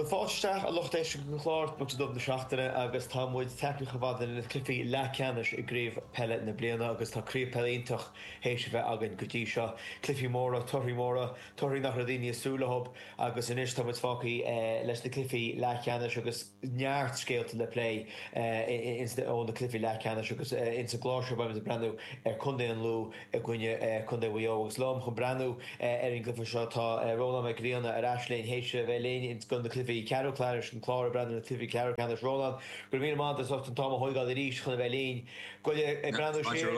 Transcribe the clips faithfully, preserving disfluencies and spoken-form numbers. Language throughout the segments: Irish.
Bhuel, fáilte isteach, a lucht éisteachta den chlár, Bocsa Dubh na Seachtaine agus tá muid tagtha chomh fada le cluichí leathcheannais i gCraobh Peile na bliana agus tá craobh peile iontach théis a bheith againn go dtí seo. Cluichí móra, torthaí móra, torthaí nach raibh daoine ag súil leo agus anois tá muid fágtha leis na cluichí leathcheannais agus neart scéalta le plé ó na cluichí leathcheannais agus ins an gclár seo beimid ag breathnú ar Chontae an Lú i gcoinne Contae Mhaigh Eo agus liom chun breathnú ar an gcluiche seo tá Rónán Mac Grianna ar ais linn théis a bheith linn do na cluichí ceathrú ceannais an clár ag breathnú ar na cluichí ceathrú ceannais. Rónán, go raibh míle maith agat as ucht an t-am a thóigeáil arís chun a bheith linn. Ag breathnú siar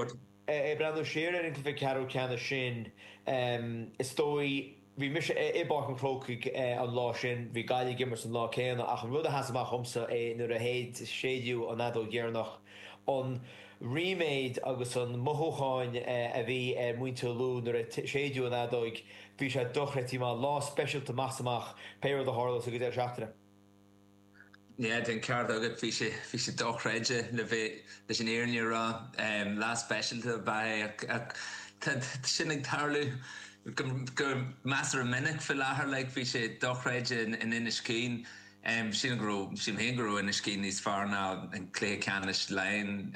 ag breathnú siar ar an gcluiche ceathrú ceannais sin is dóigh bhí mise i bPáirc an Chrócaigh an lá sin, bhí Gaillimh ag imirt an lá céanna ach an rud a sheas amach dhomsa é nuair a séideadh an fheadóg dheireanach an ríméad agus an mothúcháin a bhí ar mhuintir Lú nuair a séideadh an fheadóig, bhí sé dochreidte maith. Lá speisialta amach is amach, pé rud a tharlós ag an deireadh seachtaine. Yeah, tá an ceart agat, bhí sé, bhí sé dochreidte le bheith, leis an fhírinne a rá. Lá speisialta ab ea é ach tá sin ag tarlú go, go measartha minic faoi láthair, like, bhí sé dochreidte in Inis Caoin. Sílim go raibh, sílim féin go raibh Inis Caoin níos fearr ná an cluiche ceannais Laighean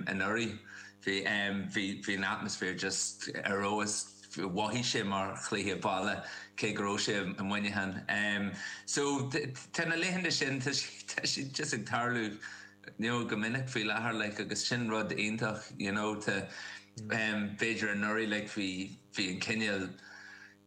anuraidh. Bhí, bhí, bhí an atmaisféar just ar fheabhas, mhothaigh sé mar chluiche baile cé go raibh sé i Muineachán. So tá na laethanta sin, tá tá siad just ag tarlú you know go minic faoi láthair like agus sin rud iontach you know tá b'fhéidir anuraidh like bhí, bhí an cineál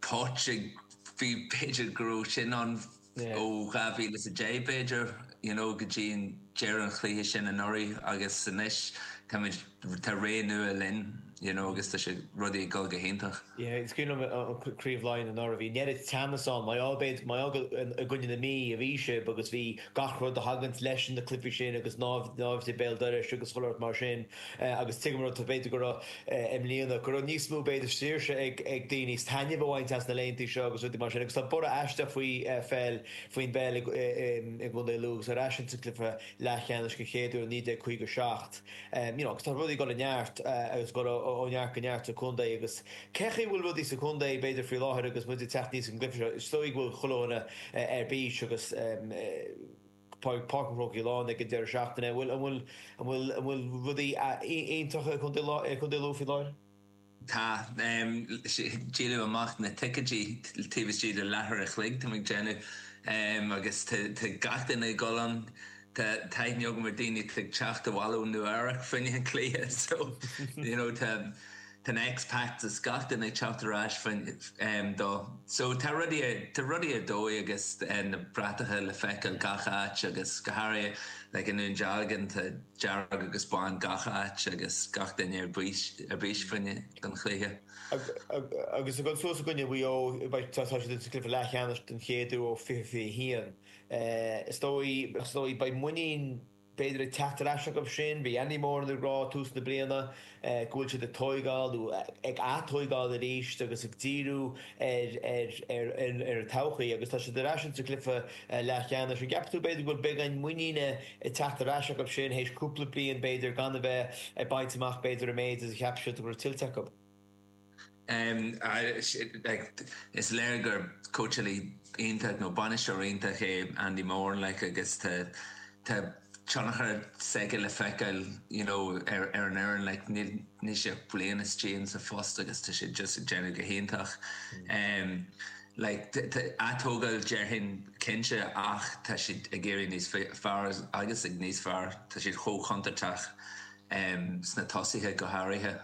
touch ag, bhí b'fhéidir go raibh sin ann ó dhá mhíle is a deich b'fhéidir, you know, go dtí an deireadh an chluiche sin anuraidh agus anois táimid, tá ré nua linn, you know, agus tá sé, rudaí ag dul go hiontach. Yeah, is cuimhin liom an Craobh Laighean anuraidh, bhí an oiread teannas ann, mar gheall, b'fhéidir, mar gheall i gcoinne na Mí a bhí sibh agus bhí gach rud a thaganns leis na cluichí sin agus naimhde béal dorais agus chuile shórt mar sin agus tuigim an rud, b'fhéidir go raibh i mbliana, go raibh níos mó b'fhéidir saoirse ag ag daoine taitneamh a bhaint as na laethanta seo agus rudaí mar sin agus tá borradh aisteach faoi pheil, faoin bpeil i gContae Lú agus ar ais insa gcluiche leathcheannais den chéad uair i naoi déag caoga a seacht. You know agus tá rudaí ag dul i neart agus ag dul ó neart go neart sa chontae agus cé chaoi a bhfuil rudaí sa chontae b'fhéidir faoi láthair agus muid ag teacht aníos an gcluiche seo, is dóigh go bhfuil chuile dhuine ar bís agus Páirc an Chrócaigh lán ag an deireadh seachtaine. An bhfuil, an bhfuil, an bhfuil, an bhfuil rudaí iontacha i gContae Lú faoi láthair? Tá. Díoladh amach na ticéidí taobh istigh de leathuair a chloig, tá mé ag déanamh, agus tá gach duine ag dul ann. Tá aithne agam ar daoine atá ag teacht abhaile ó Nua Eabhrac fá choinne an cluiche so you know tá Tá na expats is gach duine ag teacht ar ais dó. So tá rudaí, tá rudaí ar dóigh agus na bratacha le feiceáil gach áit agus go háirithe like i nDún Dealgan tá dearg agus bán gach áit agus gach duine ar bís, ar bís fá choinne don chluiche. Agus ag dul suas i gcoinne Mhaigh Eo, beidh, tá siad sa gcluiche leathcheannais den chéad uair ó fiche fiche a haon. Is dóigh, is dóigh beidh muinín, b'fhéidir ag teacht ar ais acu sin. Bhí Andy Moran ag rá tús na bliana go bhfuil siad ag tóigeáil nó ag atóigeáil arís agus ag díriú ar ar ar an todhchaí agus tá siad ar ais insa gcluiche leathcheannais. An gceapann tú b'fhéidir go bhfuil beagán muiníne ag teacht ar ais acu sin théis cúpla bliain b'fhéidir gan a bheith ag baint amach b'fhéidir an méid is a cheap siad go raibh tuillte acu? Is léir gur cóitseálaí iontach nó bainisteoir iontach é Andy Moran like agus tá tá tionchar s'aige le feiceáil you know ar ar an fhoireann like níl níl sé ach bliain istigh in sa phost agus tá sé just ag déanamh go hiontach. Like tá atógáil déarfainn cinnte ach tá siad ag éirí níos fearr agus ag níos fearr tá siad chomh contúirteach sna tosaithe go háirithe.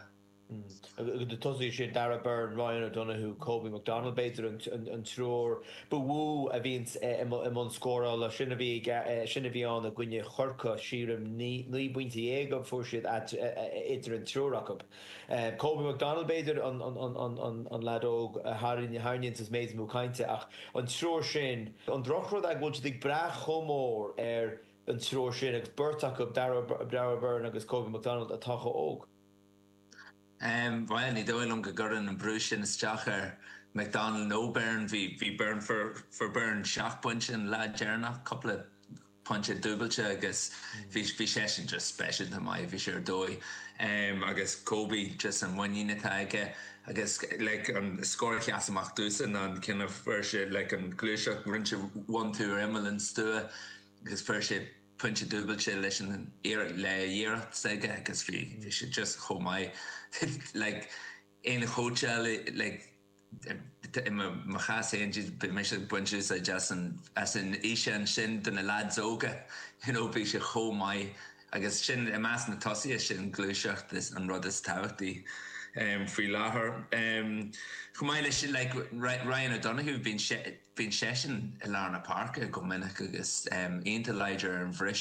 Agus na tosaithe sin, Darragh Beirne, Ryan O'Donoghue, Kobe McDonald b'fhéidir an triúr ba mhó a bhíonns i mbun scórála. Sin a bhí sin a bhí ann i gcoinne Chorcaí, sílim, naoi bpointe dhéag a fuair siad idir an triúr acu. Kobe McDonald b'fhéidir an leaid óg a tharraingíonns an méid is mó cainte ach an triúr sin, an drochrud é go bhfuil siad ag brath chomh mór ar an triúr sin agus beirt acu, Darragh Beirne agus Kobe McDonald, atá chomh óg. Bhuel, ní dóigh liom go gcuireann an brú sin isteach ar McDonald nó Beirne. Bhí bhí Beirne fuair fuair Beirne seacht bpointe an lá deireanach, cúpla pointe dúbailte agus bhí bhí seisean just speisialta maith, bhí sé ar dóigh. Agus Kobe, just an muinín atá aige agus like an scór a sheas amach domhsa ná an ceann a fuair sé like an gluaiseacht rinne sé one two ar imeall an stua agus fuair sé pointe dúbailte leis an le iarracht s'aige agus bhí bhí sé just chomh maith like aon chóitseáil like i mo chás féin bhí mise ag baint úsáid as an as an fhíseán sin do na lads óga you know bhí sé chomh maith agus sin i measc na tosaithe sin gluaiseacht is an rud is tábhachtaí um, faoi láthair. Um, chomh maith leis sin like, Ryan O'Donoghue bíonn seisean i lár na páirce go minic agus um, iontach láidir ar an bhriseadh